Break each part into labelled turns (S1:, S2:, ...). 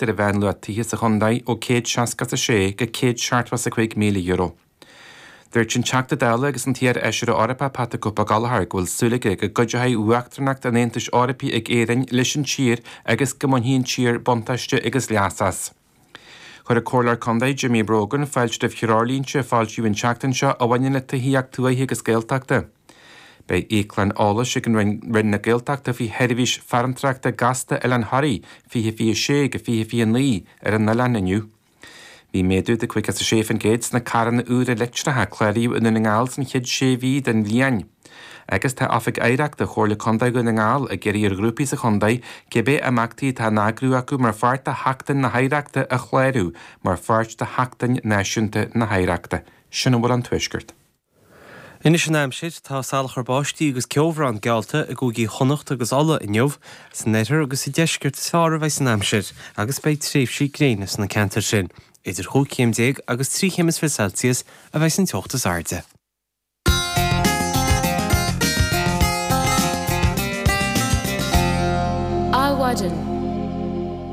S1: Ar an mheánluach tithe sa chontae ó €166 go €175,000. Dúirt an Teachta Dála agus an t-iar-fheisire Eorpach Pat 'The Cope' Gallagher go bhfuil súil aige go gcuideoidh Uachtaránacht an Aontais Eorpaigh ag Éirinn leis an tír agus go mbainfidh an tír buntáiste agus leas as. Chuir an Comhairleoir Contae Jimmy Brogan fáilte roimh threoirlínte a foilsíodh an tseachtain seo a bhaineann le tithíocht tuaithe agus Gaeltachta. Beidh íoclann eolais ag Roinn na Gaeltachta faoi sheirbhís farantrachta gasta Oileán Thoraí 2026-2029 ar an oileán inniu. Bhí méadú de 56% sna carranna úra leictreacha a cláraíodh i nDún na nGall san chéad sé mhí den bhliain. Agus tá Oifig Oidhreachta Chomhairle Contae Dhún na nGall ag iarraidh ar ghrúpaí sa chontae cibé imeachtaí atá á n-eagrú acu mar pháirt de Sheachtain na hOidhreachta a chlárú mar pháirt de Sheachtain Náisiúnta na hOidhreachta. Sin a bhfuil ón Tuaisceart.
S2: Anois an aimsir, tá salachar báistí agus ceobhrán geallta i gcúigí Chonnacht agus Uladh inniu. San oirthear agus sa deisceart is fearr a bheidh an aimsir agus beidh tréimhsí gréine sna ceantair sin. Idir chúig chéim déag agus trí chéim is fiche Celsius a bheidh an teocht is airde.
S3: Adhmhaidin.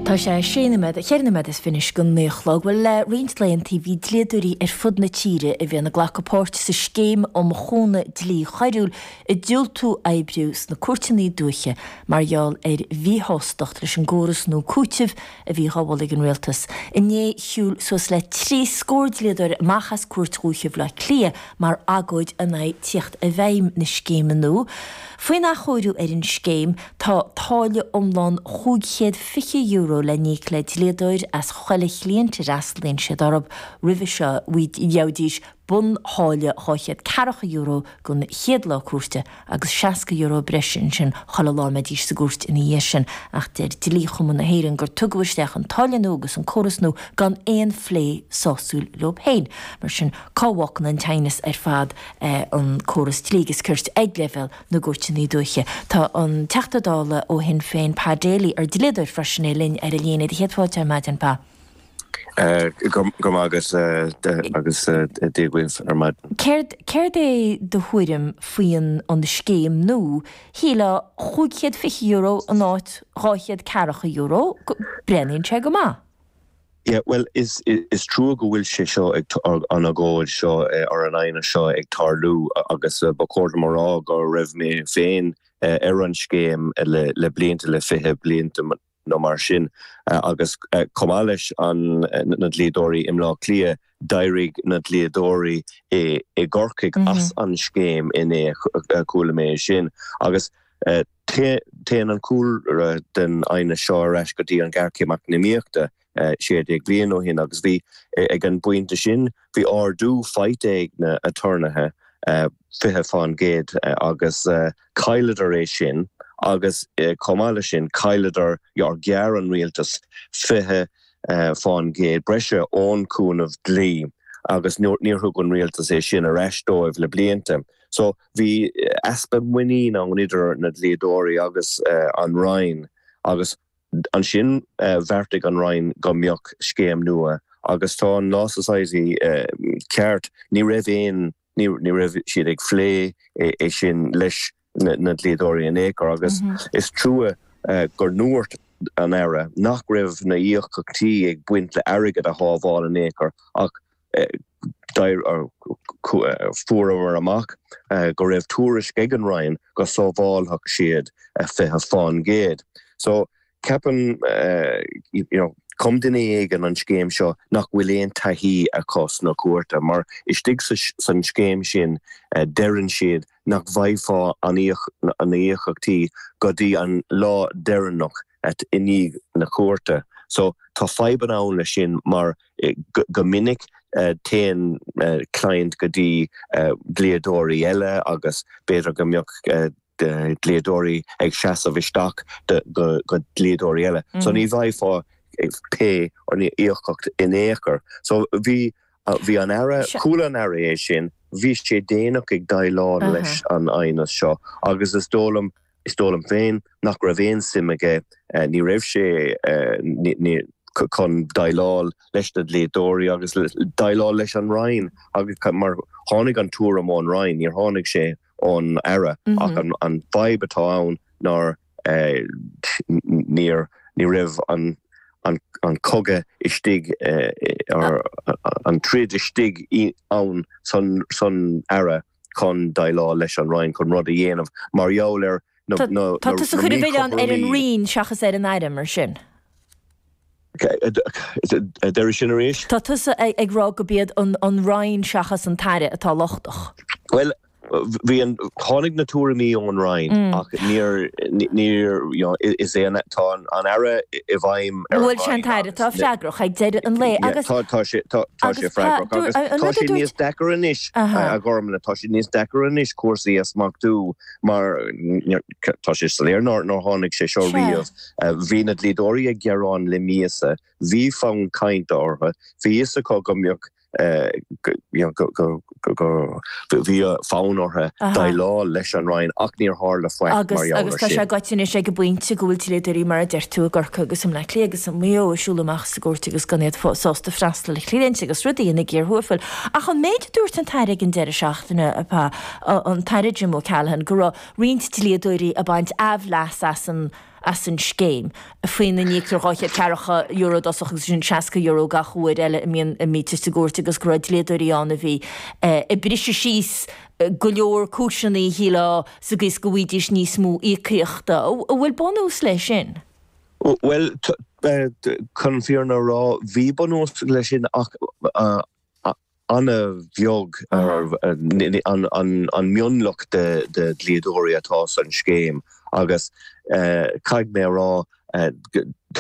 S3: Tá sé sé nóiméad, cheithre nóiméad is fiche anois go naoi a chlog. Bhuel, le roinnt laethanta bhí dlíodóirí ar fud na tíre a bhíonn ag glacadh páirt sa scéim um chúnamh dlí choiriúil ag diúltú oibriú sna cúirteanna dúiche mar gheall ar mhíshástacht leis an gcóras nua cúitimh a bhí dhá mholadh ag an rialtas. Inné shiúil suas le trí scór dlíodóir amach as Cúirt Dhúiche Bhaile Átha Cliath mar agóid in aghaidh tíocht i bhfeidhm na scéime nua. Faoin athchóiriú ar an scéim, tá táille iomlán €520 le n-íoc le dlíodóir as chuile chliaint a fhreastalaíonn siad orthu. Roimhe seo, gheobhaidís buntháille €240 don chéad lá cúirte agus €60 breise ansin chuile lá a mbeidís sa gcúirt ina dhiaidh sin. Ach deir Dlí-Chumann na hÉireann gur tugadh isteach an táille nua agus an córas nua gan aon phlé sásúil leo féin. Mar sin, cá bhfágann an t-aighneas ar fad an córas dlí agus cirt ag leibhéal na gcúirteanna dúiche? Tá an Teachta Dála ó Shinn Féin, Pa Daly, ar dlíodóir freisin é, linn ar an líne. Do chéad fáilte ar maidin, Pa.
S4: Go raibh maith agat agus Dia dhaoibh ar maidin.
S3: Céard, céard é do thuairim faoin an scéim nua? Shílfeá €520 in áit €240, breathnaíonn sé go maith.
S4: Yeah, bhuel, is, is trua go bhfuil sé seo ag, an agóid seo or an aighneas seo ag tarlú agus ba chóir dom a rá go raibh mé féin ar an scéim le, le blianta, le 20 blianta nó mar sin agus chomh maith leis an, na dlíodóirí i mBleá Cliath, d'éirigh na dlíodóirí i, i gCorcaigh as an scéim inné, chuala mé é sin agus. Téann an cúlra den aighneas seo ar ais go dtí an ghéarchéim eacnamaíochta 16 bliain ó shin agus bhí, ag an bpointe sin, bhí ardú faighte ag na aturnaetha, 20%, agus chailleadar é sin agus chomh maith leis sin chailleadar, or ghearr an rialtas 20% breise ón chúnamh dlí agus níor thug an rialtas é sin ar ais dóibh le blianta. So bhí easpa muinín ann idir na dlíodóirí agus an Roinn agus ansin bheartaigh an Roinn go mbeadh scéim nua agus tá an Law Society ceart, ní raibh aon, ní raibh siad ag phlé é sin leis na dlíodóirí in aon chor agus is trua go ndúirt an Aire nach raibh na íocaíochtaí ag baint le airgead a shábháil in aon chor ach Fuaireamar amach go raibh tuairisc ag an Roinn go sábhálfadh siad 20%. So, ceapaim, you know, chum duine éigin an scéim seo nach bhfuil aon taithí acu sna cúirteanna, mar istigh san scéim sin deireann siad nach bhfaighfeá an íocaíochtaí go dtí an lá deireanach i ndiaidh na cúirte. So, tá fadhbanna ann leis sin mar go minic téann client go dtí dlíodóirí eile agus b'fhéidir go mbeadh dlíodóirí ag seasamh isteach do dhlíodóirí eile. So ní bhfaighfeá pay or ní íocaíocht in aon chor. So bhí bhí an Aire, chuala an Aire é sin, bhí sé déanach ag déileáil leis an aighneas seo agus is dóigh liom Is dóigh liom féin nach raibh aon suim aige, ní raibh sé chun déileáil leis na dlíodóirí agus déileáil leis an Roinn agus mar tháinig an tuairim ón Roinn, níor tháinig sé ón Aire ach an fadhb atá ann ná níor, ní raibh an. an cogadh istigh, an troid istigh ann san Aire chun déileáil leis an Roinn chun rud a dhéanamh mar gheall ar na
S3: míchothromaí. Tá tusa ag cur an mhilleáin ar an Roinn seachas ar an Aire, mar sin?
S4: Deireadh sin arís?
S3: Tá tusa ag rá gurb iad an Roinn seachas an tAire atá lochtach.
S4: Bhuel, bhí an, tháinig na tuairimí ón Roinn ach níor, níor, you know, is é an, tá an Aire i bhfeidhm
S3: ar an Roinn. Bhuel, sé an tAire atá freagrach ag deireadh an lae agus.
S4: Yeah, tá, tá sé, tá, tá sé freagrach agus tá sé níos deacair anois, a Ghormlaith, tá sé níos deacair anois cúrsaí a smachtú mar tá sé soiléir nár, nár tháinig sé seo riamh. Bhí na dlíodóirí ag gearán le míosa, bhí fonn cainte orthu, bhí fhios acu go mbeadh go bhí fonn orthu déileáil leis an Roinn ach níor tharla faic mar gheall air
S3: Agus tá sé gaibhte anois ag an bpointe go bhfuil dlíodóirí mar a deir tú i gCorcaigh agus i mBleá Cliath agus i Maigh Eo ag siúl amach as an gcúirt agus gan iad sásta freastal ar chliaint agus rudaí ina gcíor thuathail. Ach an méid a dúirt an tAire ag an deireadh seachtaine, an tAire Jim O'Callaghan, go raibh roinnt dlíodóirí ag baint aimhleas as an as an scéim, faoina n-íoctar €240 i dtosach agus ansin €60 gach uair eile a mbíonn a mbítear sa gcúirt agus go raibh dlíodóirí ann a bhí ag briseadh síos go leor cúiseanna, shílfeá, sa gcaoi is go bhfaighidís níos mó íocaíochta. An bhfuil bunús leis sin?
S4: Bhuel, chun an fírinne a rá, bhí bunús leis sin ach an-bheag an mionlach de dhlíodóirí atá san scéim agus caithfidh mé a rá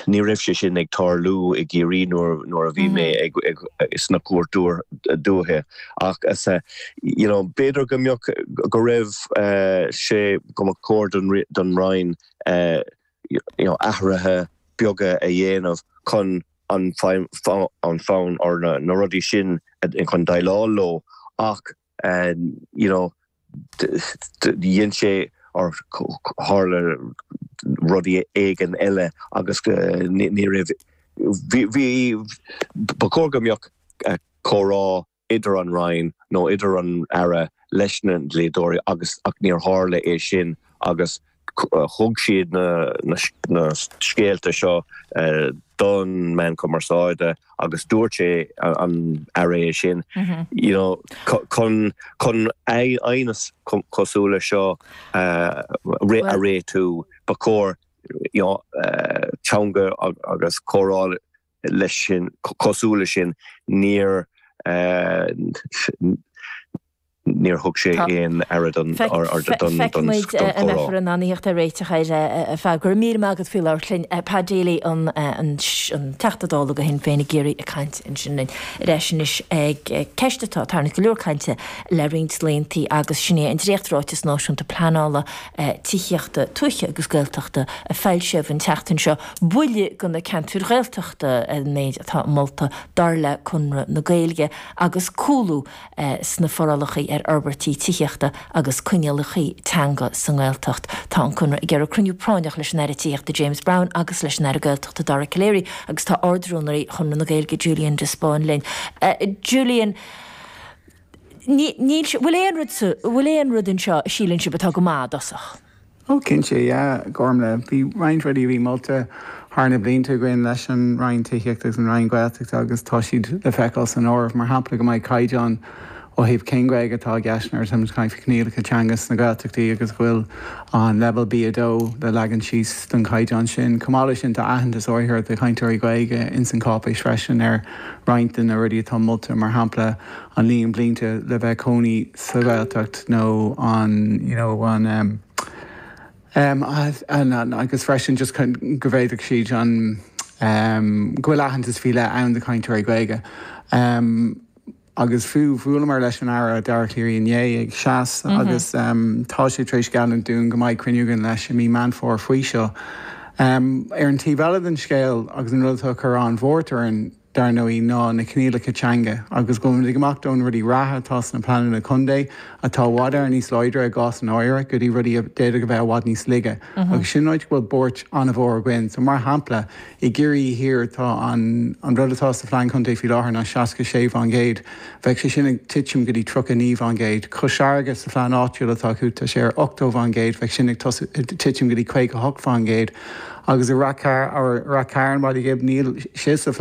S4: ní raibh sé sin ag tarlú i gCiarraí nuair a bhí mé sna cúirt dúiche ach you know b'fhéidir go mbeadh go raibh sé go mba chóir don Roinn you know athruithe beaga a dhéanamh chun an fonn or na rudaí sin chun déileáil leo ach you know dhein sé or tharla rudaí éigin eile agus ní raibh bhí bhí ba chóir go mbeadh comhrá idir an Roinn nó idir an Aire leis na dlíodóirí agus ach níor tharla é sin agus thug siad na scéalta seo don meán cumarsáide agus dúirt sé an Aire é sin you know chun chun aighneas cosúil le seo a réitiú ba chóir you know teanga agus comhrá leis sin, cosúil leis sin, níor níor thug sé aon aire don
S3: Feicfidh muid an mbeifear in ann a theacht ar réiteach air a Phat. Go raibh míle maith agat faoi labhairt linn. Pat Daly, an Teachta Dála do Shinn Féin i gCiarraí ag caint ansin linn. Ar ais anois ag ceist atá ag tarraingt go leor cainte le roinnt laethanta agus sin é an dréacht-ráiteas náisiúnta pleanála tithíochta tuaithe agus Gaeltachta a foilsíodh an tseachtain seo. Buille do na ceantair Ghaeltachta an méid atá molta dar le Conradh na Gaeilge agus cúlú sna forálacha ar fhorbairtí tithíochta agus coinníollacha teanga sa nGaeltacht. Tá an Conradh ag iarraidh cruinniú práinneach leis an Aire Tithíochta James Browne agus leis an Aire Gaeltachta Dara Calleary agus tá Ard-Rúnaí Chonradh na Gaeilge Julian de Spáinn linn. Julian, Níl, bhfuil aon rud sa, bhfuil aon rud anseo a síleann sibh atá go maith i dtosach?
S5: Ó cinnte, yeah, Gormlaith. Bhí roinnt rudaí a bhí molta thar na blianta againn leis an Roinn Tithíochta agus an Roinn Gaeltachta agus tá siad le feiceáil san áireamh. Mar shampla go mbeidh caighdeán ó thaobh cén Ghaeilge atá i gceist nuair atáimid ag caint faoi choinníollacha teanga sna Gaeltachtaí agus go bhfuil an leibhéal B2 le leagan síos don chaighdeán sin. Chomh maith leis sin tá aitheantas áirithe do chainteoirí Gaeilge ins an cháipéis freisin ar roinnt de na rudaí atá molta, mar shampla an líon blianta le bheith cónaí sa Ghaeltacht nó an you know an em em an agus freisin just go bhféadfadh siad an em go bhfuil aitheantas faoi leith ann do chainteoirí Gaeilge. Em agus fiú bhuaileamar leis an Aire Dara Calleary inné ag SEAS agus em tá sé tar éis geallúint dúinn go mbeidh cruinniú againn leis i mí Meán Fómhair faoi seo. Em ar an taobh eile den scéal agus an rud atá ag cur an-bhuairt orainn. dar ndóigh, ná na coinníollacha teanga agus go bhfuil muid ag imeacht ón rudaí reatha atá sna pleananna contae, atá i bhfad Éireann níos láidre i gcás an áirithe, go dtí rudaí a d'fhéadfadh a bheith i bhfad níos laige. Agus sin áit go bhfuil buairt an-mhór againn. So, mar shampla, i gCiarraí Thiar tá an an rud atá sa phlean contae faoi láthair ná 66%. Bheadh sé sin ag titim go dtí 39%. Cois Fharraige sa phlean áitiúil atá acu tá sé ar 80%, bheadh sin ag titim go dtí 58%. Agus i Rath Cairn, Baile Ghib, níl sé sa.